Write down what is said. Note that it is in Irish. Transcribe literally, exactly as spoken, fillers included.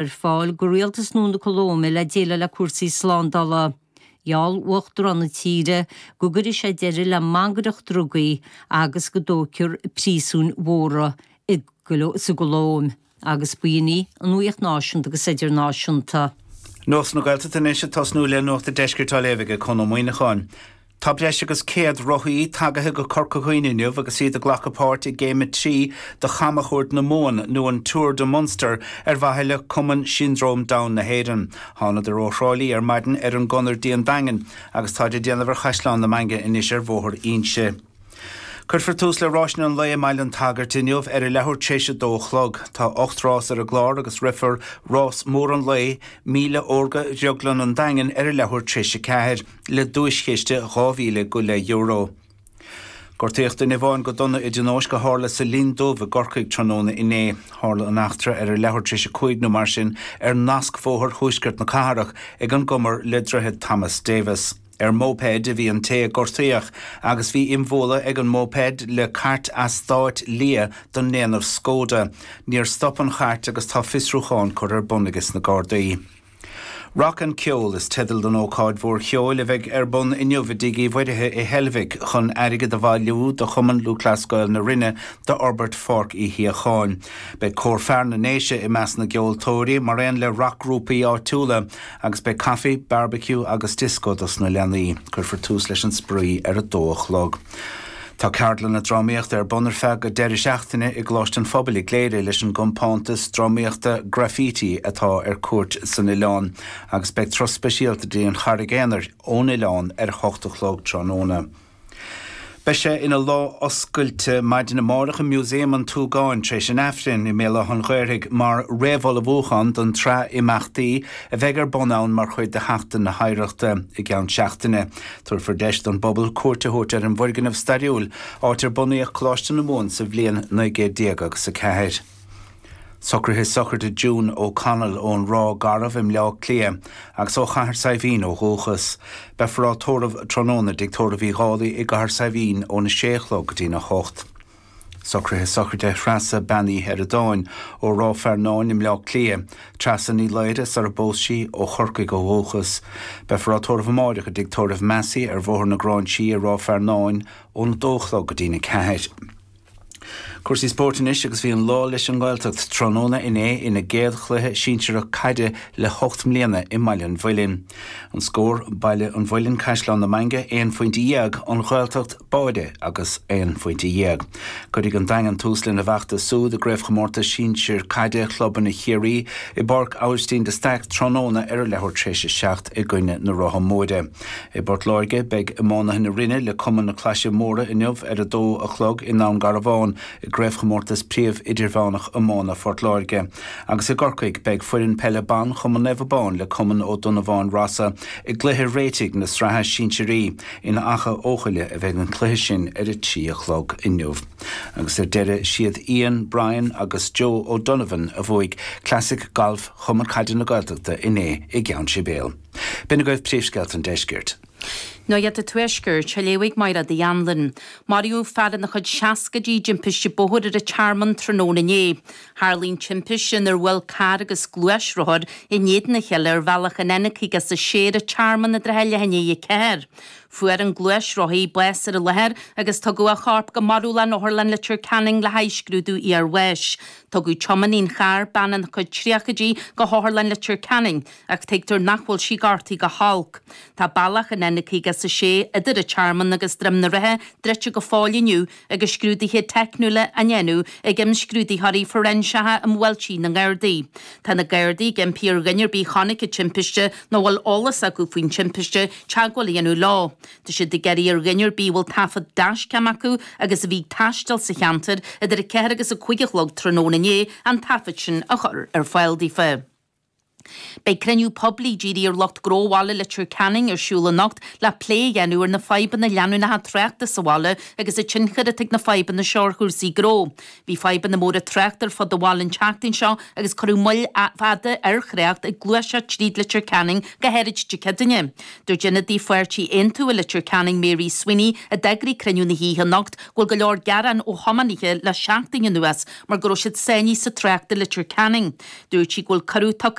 ar fáil go rialtas nua na Colóime le déileáil le cúrsaí slándála. Gheall Uachtarán na tíre go gcuirfidh sé deireadh le mangaireacht drugaí agus go dtógfar príosúin mhóra i sa gColóim agus b'in í an nuacht náisiúnta agus idirnáisiúnta. Nuacht na Gaeltachta anois ag tosnú le Nuacht an Deiscirt á léamh ag Conn Ó Muíneacháin. Tá breis agus céad rothaí tagaithe go Corca Dhuibhne inniu agus iad ag glacadh páirt i gcéim a trí de Chamchuairt na Mumhan nó an Tour de Munster ar mhaithe le Cumann Siondróm Down na hÉireann. Thánadar ó Thrá Lí ar maidin ar an gconair dtí an Daingean agus táid ag déanamh ar Chaisleán na Mainge anois ar Bhóthar Inse. Cuirfear tús le ráiseanna an lae i mBaile an tSagairt inniu ar a leathuair tar éis a dó a chlog. Tá ocht rás ar an gclár agus rithfear rás mór an lae, Míle Órga Dhrioglann an Daingin ar a leathuair tar éis a ceathair, le duaischiste dhá mhíle go leith euro. Gortaíodh duine amháin go dona i dtionóisc a tharla sa Linn Dubh i gCorcaigh tráthnóna inné. Tharla an eachtra ar a leathuair tar éis a cúig nó mar sin ar nascbhóthar thuaisceart na cathrach ag an gcumar le Droichead Thomas Davis. Ar mhóipeid a bhí an té a gortaíodh agus bhí imbhualadh ag an móipeid le cairt eastáit liath den ndéanamh Skoda. Níor stop an chairt agus tá fiosrúchán curtha ar bun aige sna Gardaí. Rock and Ceol is teideal don ócáid mhór cheoil a bheidh ar bun inniu i dTigh Uí Mhuirithe i Heilbhic chun airgead a bhailiú do Chumann Lúthchleas Gael na Rinne d'fhorbairt Pháirc Uí Shíocháin. Beidh Cór Fear na nDéise i measc na gceoltóirí mar aon le racghrúpaí áitiúla agus beidh caife, barbecue agus dioscó dos na leanaí. Cuirfear tús leis an spraoi ar a dó a chlog. Tá ceardlanna drámaíochta ar bun ar feadh an deireadh seachtaine i gColáiste an Phobail i gCléire leis an gcompántas drámaíochta Graffiti atá ar cuairt san oileán agus beidh turas speisialta dtí an Charraig Aonair ón oileán ar a hocht a chlog tráthnóna. Beidh sé ina lá oscailte maidin amárach i Músaem an tSúgáin tar éis an Aifrinn i mBéal Átha an Ghaorthaidh mar réamhullmhúchán don tsraith imeachtaí a bheidh ar bun ann mar chuid de Sheachtain na hOidhreachta i gceann seachtaine. Tabharfar deis don bpobal cuairt a thabhairt ar an bhfoirgneamh stairiúil, áit ar bunaíodh Coláiste na Mumhan sa bhliain naoi gcéad déag agus a ceathair. Socruithe sochraide June O'Connell ón Ráth Garbh i mBleá Cliath agus ó Chathair Saidhbhín ó dhúchas. Beifear á tórramh tráthnóna i dTigh Tórraimh Uí Dhálaigh i gCathair Saidhbhín óna sé a chlog go dtína hocht. Socruithe sochraide Threasa Bean Uí Sheireadáin ó Ráth Fearnáin i mBleá Cliath, Treasa Ní Laoire sar a bpós sí, ó Chorcaigh ó dhúchas. Beifear á tórramh amáireach i dTigh Tórraimh Massey ar Bhóthar na Gráinsí i Ráth Fearnáin óna dó a chlog go dtína ceathair. Cúrsaí spóirt anois agus bhí an lá leis an nGaeltacht tráthnóna inné ina gcéad chluiche sinsearach caide le hocht mbliana i mBaile an Mhuilinn. An scór, Baile an Mhuilinn, Caisleán na Mainge, aon phointe dhéag, An Ghaeltacht, Báire agus aon phointe dhéag. Cuirfidh an Daingean tús lena bhfeachtas súd i gCraobhchomórtas Sinsir Caide Chlubanna Chiarraí i bPáirc Aibhistín de Staic tráthnóna ar a leathuair tar éis a seacht i gcoinne na Rátha Móire. I bPort Láirge, beidh iománaithe na Rinne le Cumann na Claise Móire inniu ar a dó a chlog i nDún Garbhán i gCraobhchomórtas Príomh Idirmheánach Iomána Phort Láirge. Agus i gCorcaigh, beidh foireann peile ban Chumann Naomh Abán le Cumann Ó Donnabháin Rossa i gcluiche réitigh na Sraithe Sinsearaí in Achadh Eochaille a bheidh an cluiche sin ar a trí a chlog inniu. Agus ar deireadh, siad Ian, Brian agus Joe O'Donovan a bhuaigh Classic Golf Chumann Caide na Gaeltachta inné i gCeann Sibéal. B'in agaibh príomhscéalta an deiscirt. Nuacht an Tuaiscirt, á léamh ag Máire Uí Anluain. Maraíodh fear ina chuid seascaidí i dtimpiste bóthair ar an Tearmann tráthnóna inné. Tharla an timpiste inar bhuail carr agus gluaisrothar in éadan a chéile ar bhealach an N caoga is a sé ar an Tearmann i dtrátha leath i ndiaidh a ceathair. Fuair an gluaisrothaí bás ar an láthair agus tugadh a chorp go marúlann Otharlann Leitir Ceanainn le haghaidh scrúdú iarbháis. Tugadh tiománaí an chairr, bean ina cuid tríochaidí, go hOtharlann Leitir Ceanainn ach tuigtear nach bhfuil sí gortaithe go holc. Tá bealach an N caoga is a sé idir an Tearmann agus Droim na Ríthe druidte go fóill inniu agus scrúduithe teicniúla á ndéanamh ag imscrúdaitheoirí fóiréinseacha um bhuailtí na nGardaí. Tá na Gardaí ag impí ar dhuine ar bith a chonaic an timpiste nó a bhfuil eolas acu faoin timpiste teagmháil a dhéanamh leo. Tá siad ag iarraidh ar dhuine ar bith a bhfuil taifead dashcam acu agus a bhí ag taisteal sa cheantar idir a ceathair agus a cúig a chlog tráthnóna inné an taifead sin a chur ar fáil daofa. Beidh cruinniú poiblí dírithe ar lucht gnó bhaile Leitir Ceanainn ar siúl anocht le plé a dhéanamh ar na fadhbanna leanúnacha tráchta sa bhaile agus an tionchar atá ag na fadhbanna seo ar chúrsaí gnó. Bhí fadhbanna móra tráchta ar fud an bhaile an tseachtain seo agus cuireadh moill fhada ar thrácht ag gluaiseacht tríd Leitir Ceanainn go háirid Dé Céadaoine. Dúirt ionadaí pháirtí Aontú i Leitir Ceanainn Mary Sweeney a d'eagraigh cruinniú na hoíche anocht go bhfuil go leor gearán ó thiománaithe le seachtain anuas mar go raibh siad sáinnithe sa trácht i Leitir Ceanainn. Dúirt sí go bhfuil cuireadh tugtha